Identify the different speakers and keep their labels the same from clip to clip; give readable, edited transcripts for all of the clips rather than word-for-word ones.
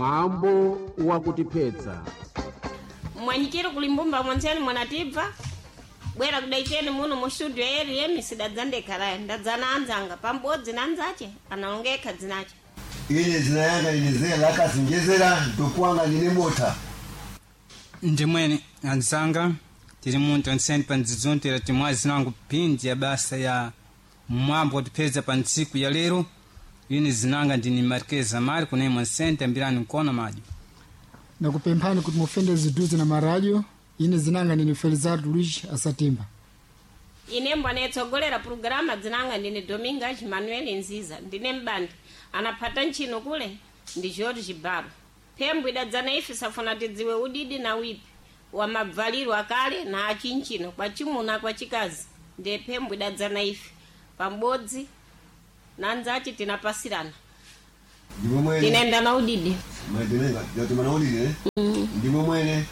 Speaker 1: Mwambo wakutiphetsa.
Speaker 2: Mwanyikire kulimbumba mwanzeni mwanatibva bwera kudaiteni muno mu studio eri yemi sidadzandekhalaya ndadzana anzanga pambodzi na anzache analongekha dzinache.
Speaker 3: Ine zina yanga inezera lakasinjezera ntokwanga ndine mota.
Speaker 4: Ndimwene anzanga, tili muntu anseni pa ndzidzonte timwazi nangu pindi ya basa ya mwambo watipeza pa ntsiku ya lero. Ine zinanga ndini Marquez Amari kunemwa nsente ambirani mkono maji.
Speaker 5: Nakupemphani kuti mufende ziduze na maradio. Ine zinanga ndine Felizardo Luiz Asatimba.
Speaker 2: Ine mbwana pulogalamu dzinanga ndine Domingas Manuel Nziza, ndine mbandi anaphata ntchino kule ndi George Baro. Phembo idadzana ife safuna tidziwe udidi na wipi wa mabvaliro akale na achinchino kwa chimuna kwa chikazi, ndiye phembo idadzana ife pambodzi na anzace tinapasirana.
Speaker 3: Ndimo mwene.
Speaker 2: Tinaenda na udidi.
Speaker 3: Mai Dominga yatumana ulile. Ndimo mwene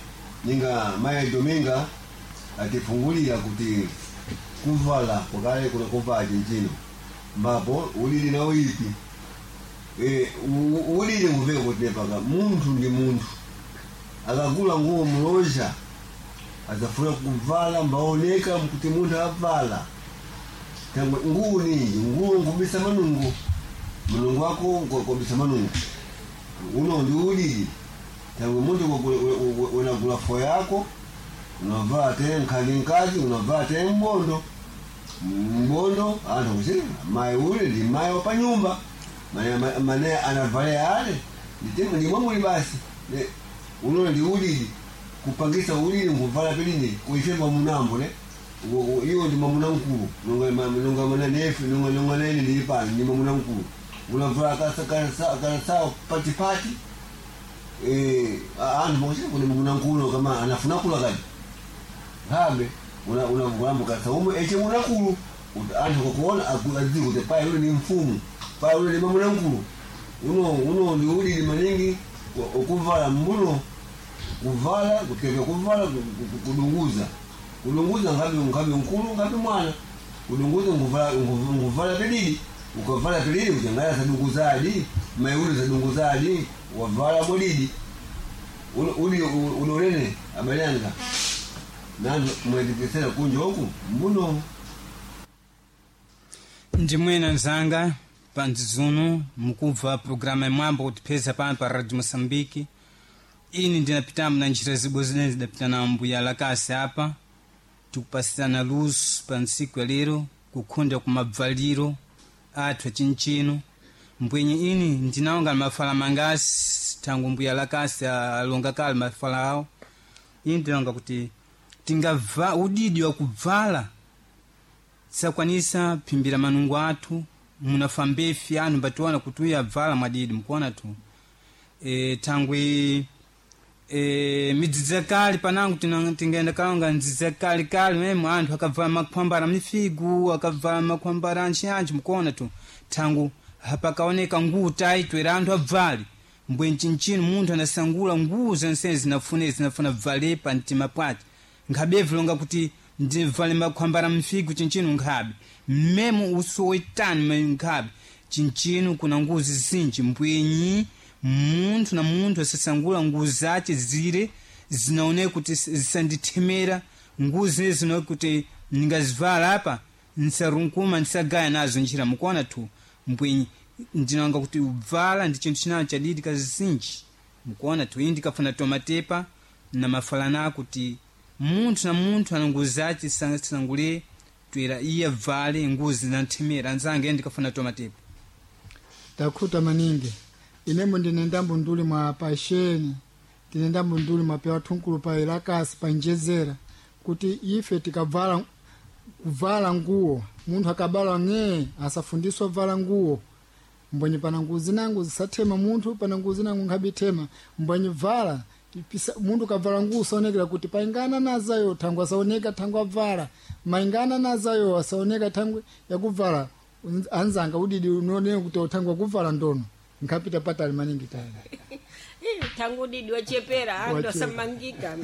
Speaker 3: ninga mai Dominga atifungulira kuti kuvala kwakale kuna kuvala chinchino mbapo ulili na uipi. Ulili nguveka kuti nepaka munthu ndi munthu akagula nguwo muloja azafuna kuvala mbaoneka kuti munthu avala tangwe nguwo ninji nguwo ngubisa manungo mulungu wako ngobisa manungo uno ndi ulili tangwe munthu unagula fo yako unavaa te nkhali nkazi unavaa te mbondo mbondo anthu kuti mayi ule ndi mayi wa panyumba mane anavalea ale ndimwe muli basi. Uno ndi ulili kupangisa ulili nkuvala pilini kuifemba munambo ne iwo ndi mwamuna mkulu nonga nonga nefe nonga nonga nene ndili pano ndi mwamuna mkulu unavala kasawa patipati. Anthu mokuti kune mwamuna mkulu kama anafuna kula kadi habe unavulambo kasa umwe eche munakulu anthu kukuona adziwe kuti payi ule ni mfumu, payi ule ni mwamuna mkulu. Uno ndi ulili maningi ukuvala mbuno kuvala kuteka kuvala kudunguza kudunguza ngabi mkulu ngabi mwana kudunguza nguvala pilili ukavala pilili uchangaya sadunguzadi maiuli sadunguzadi wavala mwilidi uli ulolene abalanga nanu mwendekesera kunja huku mbuno.
Speaker 4: Ndimwene anzanga pa ndzizuno mukubva programa ya mwambo kutipeza pano pa Radio Moçambique. Ini ndinapitamo na njira zibwe zine zidapita na mbuya lakasi apa tikupasirana luso pa ntsiku ya lero kukhunda kumabvaliro athu achinchino mbwenye ini ndinaonga mafala mangasi thangu mbuya lakasi alonga kale mafala awo. Ini ndinaonga kuti tingava udidi wa kubvala tisakwanisa phimbira manungo athu munafa mbefi anu mbationa kuti uyu abvala mwadidi mukuona tu. Thangwi midzidzi yakale panangu tingaenda kalonga ndzidzi yakale kale memo anthu akavala makhwambara mifigu akavala makhwambara antchiantchi mukuona tu thangu hapakaoneka nguwu taitwera anthu abvale mbwe mchinchino munthu anasangula nguwu zonse zinafune zinafuna bvale pa mtima pwace nkhabe vilonga kuti ndivale makhwambara mfigu chinchino nkhabe mmemo usowetani nkhabe chinchino kuna nguwu zizinji mbwenyi munthu na munthu asasangula nguwu zace zire zinaoneka kuti zisandithemera nguwu zine zinaoneka kuti ndingazivala apa nsarunkuma ndisagaya nazo njira mukuona tu mbwenyi ndinanga kuti ubvala ndi chinthu chinacho chadidi kazinji mukuona tu iyi ndikafuna tomatepa na mafalana kuti munthu na munthu ana nguwu zace sangule twera iye abvale nguwu zinanthemera anzanga iye ndikafuna tomatepa.
Speaker 5: Takhuta maningi. Inembo ndine ndambo nduli mwa pasheni ndine ndambo nduli mwa pewa thunkulu pa ilakasi pa njezera kuti ife tikavala kuvala nguwo munthu akabala ng'ee asafundiswa vala nguwo mbwenye pana nguwo zinango zisathema munthu pana nguwo zinango nkhabithema mbwenye vala munthu kavala nguwo usaonekera kuti paingana nazayo thangwe asaoneka thangwe avala maingana nazayo asaoneka thangwe yakuvala anzanga udidi unooneka kuti uthangwe akuvala ndono nkhapita patali maningi tayina.
Speaker 2: Thangu udidi wachepera anthu
Speaker 5: Wachepa.
Speaker 2: asamangika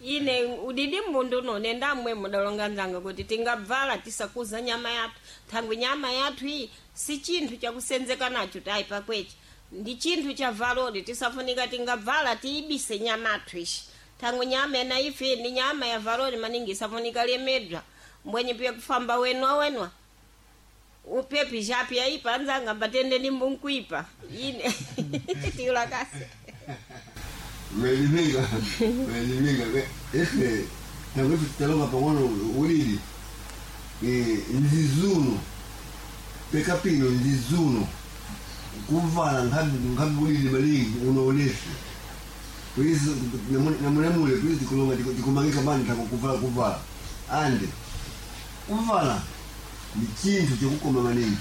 Speaker 2: ine udidi mbundu uno nendamwe mudalonga nzanga kuti tingabvala tisakuza nyama yathu thangwi nyama yathu iyi si chinthu chakusenzeka nacho tayi pakwechi. Ndi chinthu cha valori, tisafunika tingabvala tiyibise nyama athu ishi. Thangwi nyama ena ife ndi nyama ya valori maningi, isafunika lemedwa. Mbwenye piye kufamba wenwa wenwa upepi chapi yaipa anzanga mbatende ndi mbunkuipa ine tiulakasi.
Speaker 3: Umeelimika, umeelimika. Efe tangu ife talonga pang'ono ulili nzizuno pekapino nzizuno kuvala nkhabi nkhabi ulili malingi unaonefe polisi namunemule polisi tikulonga tikumangika bani tako kuvala kuvala ande kuvala ni chinthu chokukoma maningi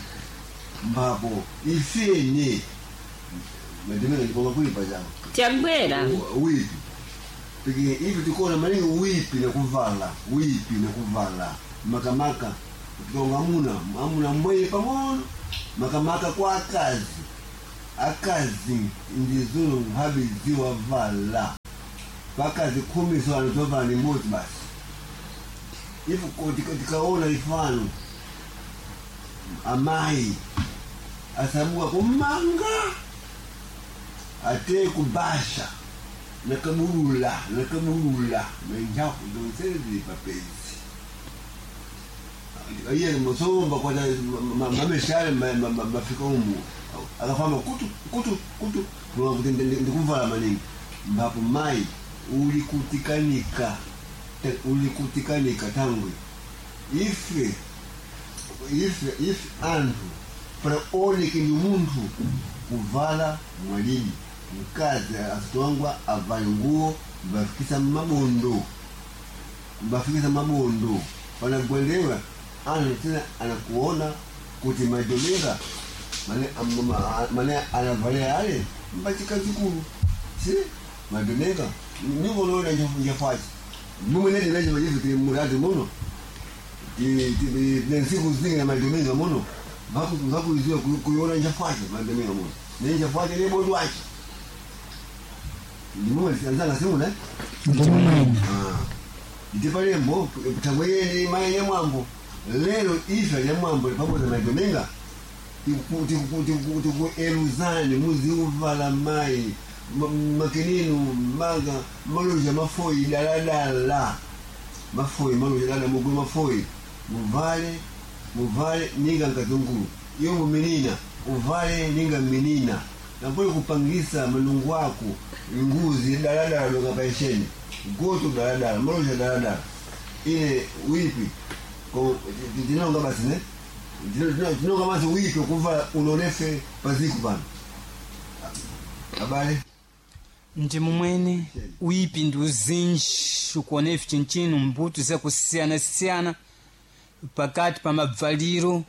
Speaker 3: mbapo ifene madimene ndikonga kuipa chako
Speaker 2: Tyabwera.
Speaker 3: Wipi piki ivi tikona maningi wipi nakuvala wipi nakuvala makamaka tikonga amuna amuna mbweye pang'ono makamaka kwa akazi akazi ndizuno nkhabi ziwavala pakazi 10 so anotovala ni mmodzi basi. Ifu tikaona ifano amayi asabuka kumanga ate kubasha nakabulula nakabulula nenjaku zonsele zili papezi iye musomba kwata mameshale mafika umu akafamba kutu kutu kutu kulonga kuti ndikuvala maningi mbapo mayi ulikutikanika ulikutikanika tangwe ife ife ife anthu para oneke ni munthu kuvala mwalidi mkazi asitongwa avale nguo mbafikisa mabondo mbafikisa mabondo panagwendewa anthu tena anakuona kuti madomera mane mane anavalia ale mbachikazikulu si madomera nikonoona njafachi mumwenete nacho machifu tili murati muno nensiku zingi na madominga muno vakuziwa kuiona njafache madominga muno nenjafache nebodwache ndimumwe anzanga simuna.
Speaker 5: Ndimumwene.
Speaker 3: Ndipalembo tangweyeni mai nyamwambo lero ife nyamwambo pamodzi na madominga tikueluzani muziuvala mai makininu maga maloja mafoyi daladala mafoyi maloja dala mugwe mafoyi muvale muvale ninga nkazungulu iyo muminina uvale ninga minina napoli kupangisa malungu ako nguzi daladala longa paisheni goto daladala maloja daladala ine wipi tinonga basi ne tinonga basi wipi kuva unonefe paziku pano abale.
Speaker 4: Ndi mumwene uipi ndi uzinji ukuona ife chinchino mbuto zakusiyana-siyana pakati pa mabvaliro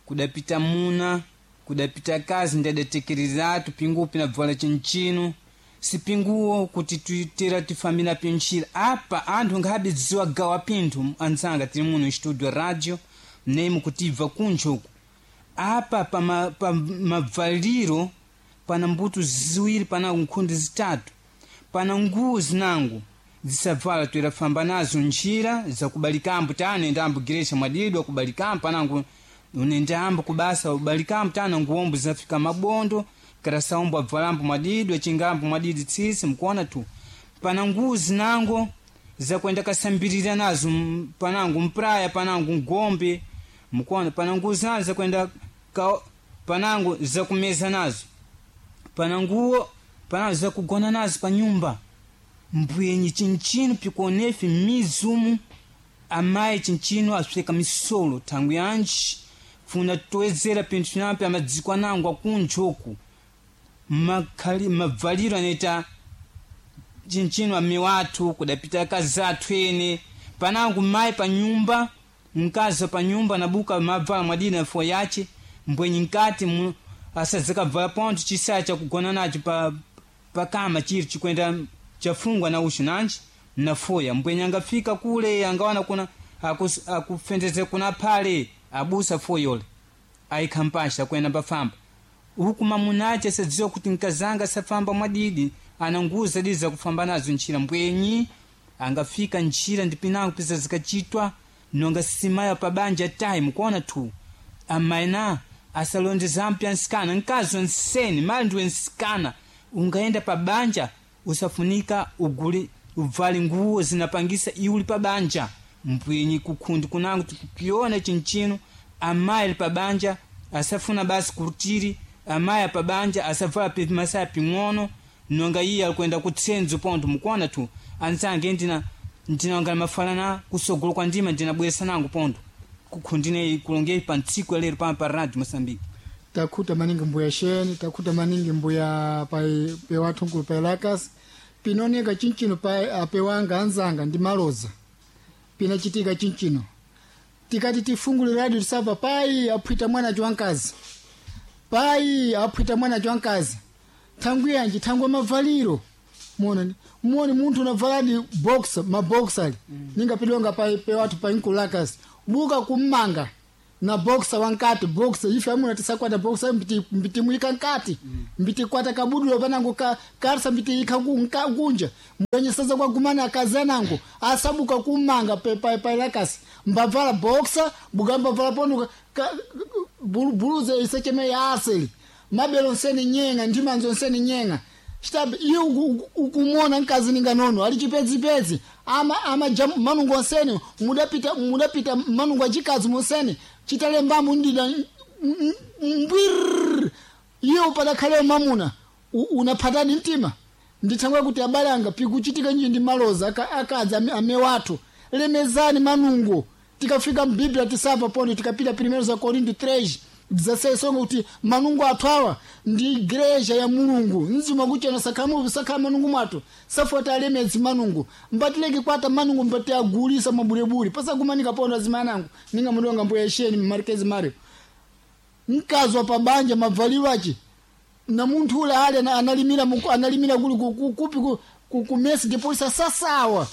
Speaker 4: kudapita muna kudapita kazi ndadatekereratu pingupi nabvala chinchino sipinguwo kuti tuitera tifambira pinchira apa anthu ngabe dziwa gawa pinthu anzanga tili muno studio radio mnemo kutibva kunja uku apa pa mabvaliro pana mbuto ziwiri pana nkhundi zitatu pana nguwo zinango zisavala toerafamba nazo njira zakubalikambo tana endambo gerecha mwadidwa kubalikambo panango unendambo kubasa ubalikambo tana nguwombo zinafika mabondo karasaombo abvalambo mwadidwa chingambo mwadidi tsisi mkuona tu pana nguwo zinango zakwenda kasambirira nazo panango mpraya panango ngombe mkuona pana nguwo zinazo zakwenda panango zakumeza nazo pana nguwo panango zakugona nazo pa nyumba mbwenyi chinchino pikuonefi mizumu amayi chinchino asweka misolo thangu yanji funa toedzera pinthu pinampi amadziko anango akunjoku makhali mabvaliro anaita chinchino amiwathu kudapita akazi athu ene panango mayi pa nyumba mkazi wa pa nyumba nabuka mavala mwadina fo yace mbwenyi nkati asadzakabvala pontho chisaya chakugona nacho pa pakama chiri chikwenda chafungwa na ushu nanji nafoya mbwenye angafika kule angawana kuna akufendeze kuna phale abusa foyole ayikhampasha kwenda pafamba huku mamunache sadziwa kuti nkazanga safamba mwadidi ana nguzo zadi zakufamba nazo ntchira mbwenyi angafika ntchira ndipinango pisa zikachitwa nonga simaya pabanja tayi mukuona tu amaina Asalonde zampya nsikana nkazi onseni mali ndiwe nsikana ungaenda pa banja usafunika uguli uvale nguwo zinapangisa iuli pa banja mpwinyi kukhundi kunango tikukiona chinchino amayi ali pa banja asafuna basi kurutiri amayi apa banja asavala masaya ping'ono nonga iye alikwenda kutsenzo ponto mukuona tu anzange ndinanga mafalana kusogolo kwa ndima ndinabweresa nango ponto kukhundine kulongei pa ntsiku ya lero pano pa radio Moçambique.
Speaker 5: Takhuta maningi mbuya sheni, takhuta maningi mbuya pai pewathunkulu pailakasi pinoneka chinchino pa apewanga anzanga ndi maloza pinachitika chinchino tikati tifungule radio tisabva pai aphwita mwana wankazi pai aphwita mwana wankazi thangwi yanji thangwi mavaliro muone muone munthu unavaladi boxer maboxer ali ningapidwanga pai pewathu pa nkulakasi buka kummanga na boxer wankati boxer ife amuna tisakwata boxer mbiti mbitimwika nkati mbitikwata kabudulo panango ka karsa mbitiika kunja mwenye sasa kwa gumana akazanango asabuka kumanga pe pa pa lakasi mbavala boxer bugamba vala pono ka, buluze isecheme ya asili mabelo nseni nyenga ndimanzo nseni nyenga chitabe iye ukumona nkazi ninga nono ali chipedzipedzi ama ama jam, manungo nseni mudapita mudapita manungo achikazi museni chitalembamu ndida mbwirr iye upadakhale mamuna unaphatani mtima ndithangwe kuti abale anga pikuchitika nji ndi maloza akadzi ame wathu lemezani manungo tikafika mbiblia tisapa pondo tikapita primero za Korinto 3 dzasesonga kuti manungo athu awa ndi igreja ya mulungu mzima kuchena sakhamu sakha manungu mwathu safota alemedzi manungu mbatileke kwata manungu mbati agulisa mabulebule pasakumanika pondo azimanangu ninga mudonga mbuya isheni mmarkezi mario mkazi wa pabanja mavaliro achi na munthu ule ali analimira analimira kuli kupi ku mesi depolisa sasawa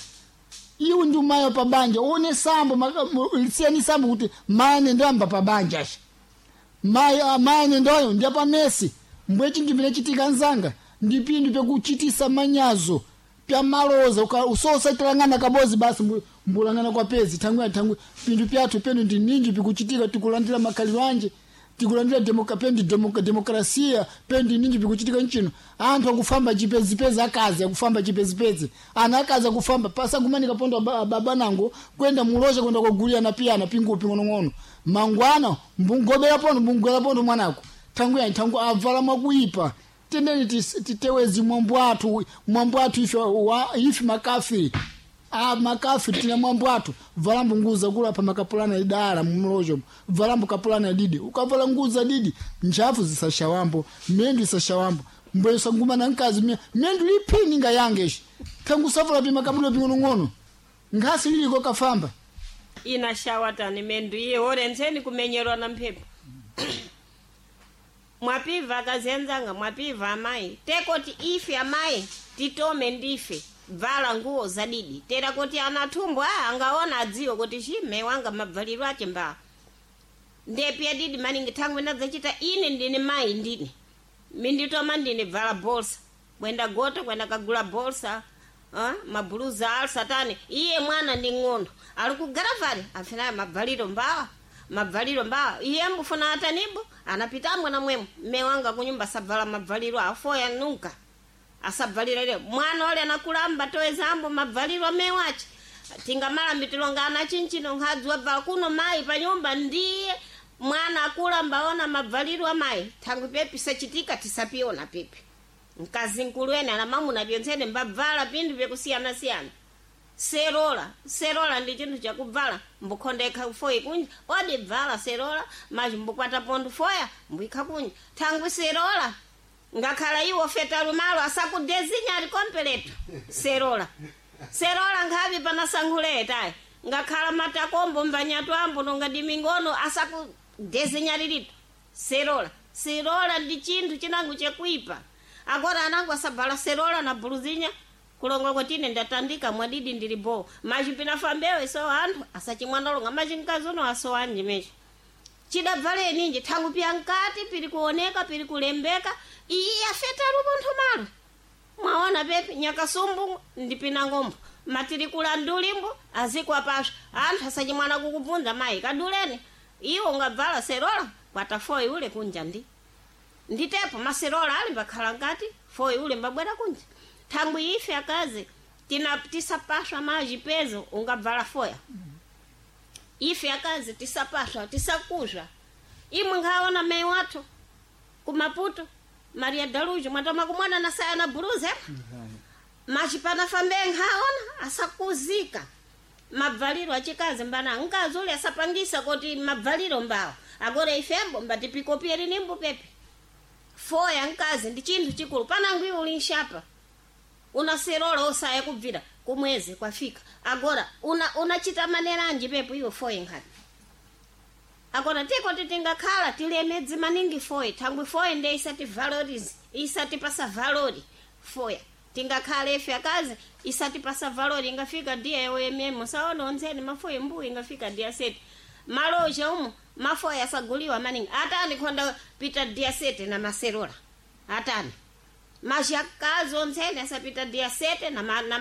Speaker 5: iwe ndi umayo pabanja one sambo lisiyani sambo kuti mane ndamba pabanja achi mayi amane ndoyo ndi apamesi mbwe chinthu pinachitika nzanga ndi pinthu pyakuchitisa manyazo pyamaloza usosatalangana kabozi basi mbulangana kwa pezi thangwi thangwi pinthu pyathu penu ndi ninji pikuchitika tikulandira makhaliro anje tikulandira pendi demokrasia pendi ninji pikuchitika nchino anthu akufamba chipezipezi akazi akufamba chipezipezi ana akazi akufamba pasakumanika pondo ababa nango kwenda muloza kwenda kugulira na piyana pingupi ng'onong'ono mangwana mbungobera pondo mbungwera pondo mwanako thangu yani thangu avala mwakuipa tendeni titewezi mwambo athu mwambo athu ife ife makafiri a makafiri tina mwambo athu valambo nguza kula pa makapulana idala mumlojo valambo kapulana didi ukavala nguza didi njafu zisashawambo mendu isashawambo mbwe sanguma na nkazi mendu lipini nga yangeshi thangu savala pi makabulo ping'onong'ono nkhasi liliko kafamba
Speaker 2: Ina shawatani mendu iye orenzeni kumenyerwa na mphepo mwapiva akazenzanga mwapiva amayi tekoti ife amayi titome ndife bvala nguwo zadidi tera kuti anathumbo a angaona adziwe kuti chime wanga mabvaliro ache mbaa ndepi adidi maningi thangwi ndadzachita ine ndine mayi ndine minditoma ndine bvala bolsa kwenda gota kwenda kagula bolsa mabhuluza alsatani iye mwana ndi ng'ondo ali kugaravali afinayo mabvaliro mbawa mabvaliro mbawa iye mbufuna atanibo anapita mwana mwemo mme wanga kunyumba sabvala mabvaliro afoya nunka asabvalira ile mwana ole anakulamba toezambo mabvaliro amewache tingamala tilonga ana chinchino nkhadzi wabvala kuno mayi pa nyumba ndiye mwana akulamba ona mabvaliro amayi thangwi pepi sachitika tisapiona pepi mkazi nkulu ene ana mamuna pyontsene mbabvala pinthu pyakusiyana-siyana serola serola ndi chinthu chakubvala mbukhonda ikha foyi kunja odi bvala serola maji mbukwata pontho foya mbuyikha kunja thangwi serola ngakhala iwo feta lumalo asakudezinya ali kompeleto serola serola nkhavi panasankhuletayi ngakhala matakombo mbanyatu ambo nonga dimingono asakudezinya lilito serola serola ndi chinthu chinango chakuipa agora anango asabvala serola na buluzinya kulonga kwatine ndatandika mwadidi ndili bo maji pinafambewe so anthu asachimwandalonga maji mkazi uno asowanji mechi chidabvale ninji thangu pya nkati pili kuoneka pili kulembeka iyi afeta lupontho malo mwaona pepi nyakasumbu ndi pinangombo matilikula ndulimbo azikwa pasha anthu asachimwana kukubvunza mayi kadulene iwo ungabvala serola Kwata foyi ule kunja ndi nditepo maserola ali mbakhala ngati foyi ule mbabwera kunja. Thangwi ife akazi tina tisapaswa maji pezo ungabvala foya. Ife akazi tisapaswa tisakuzva. Imwe nkhaona meyi wathu kumaputo Maria Dalujo mwatama kumwana na saya na buluza machipana fambe nkhaona asakuzika. Mabvaliro achikazi mbana mkazi ule asapangisa kuti mabvaliro mbawo agora ifembo mbatipikopyeri nimbu pepe. Foya mkazi ndi chinthu chikulu panangu iwe uli nshapa unaserola osaya kubvira kumwezi kwafika agora unachita una manera anji pepo iwe foye nkhani. Agora tiko titingakhala tilemedzi maningi foye thangwi foye nde isati valorize isatipasa valori foya. Tingakhala ife akazi isatipasa valori ingafika dia yoyememo saona onzeni mafoye mbuyi ingafika dia seti maloja umu mafoya asaguliwa maningi atani khonda pita dia sete na maserola atani mashakazi onzeni asapita dia sete na, ma, na.